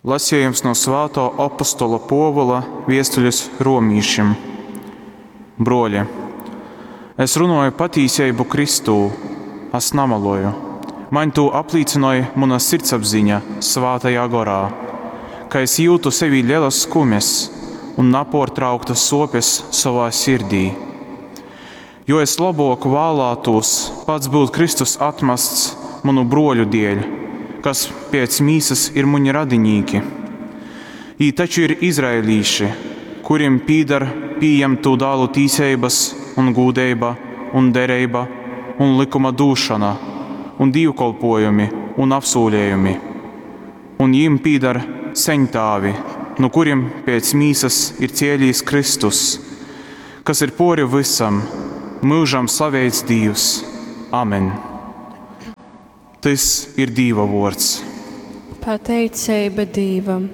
Lasejums no svātō opostola Pōvula viestuļes romīšim. Bruoļi, es runoju patīseibu Kristū, as namaloju, maņ tū aplīcynoj muna sirdsapziņa Svātajā Gorā, ka es jyutu sevī ļelas skumes un napōrtrauktas sōpes sovā sirdī. Jo es lobōk vālātūs pats byut Kristus atmasts munu brōļu dieļ, kas pēc mīsas ir muni radinīki. Jī taču ir izraelīši, kurim pīdar pījemtū dālu tīseibas un gūdeiba un dereiba un lykuma dūšona un dīvkolpōjumi un apsūlejumi. Un jim pīdar seņtāvi, nu kurim pēc mīsas ir cielīs Kristus, kas ir pōri vysam, myužam slaveits Dīvs. Amen. Tys ir Dīva vōrds. Pateiceiba Dīvam.